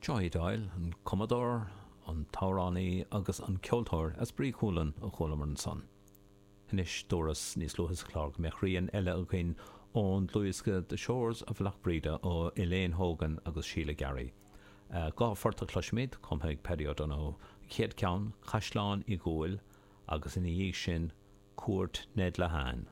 Joey Doyle, an cumadóir, an t-amhránaí agus an ceoltóir as Brí Chualann a chualamar ansan. Anois, dúras níos luaithe sa chlár go mbeadh rian eile againn ón dlúthdhiosca The Shores of Lough Breda ó Elaine Hogan agus Síle Garry. 2 phort a chloisfimid, cumtha ag Paddy O'Donoghue, an chéad cheann, Caisleán Uí Dhúill, agus ina dhiaidh sin, Cuairt Ned Lehane.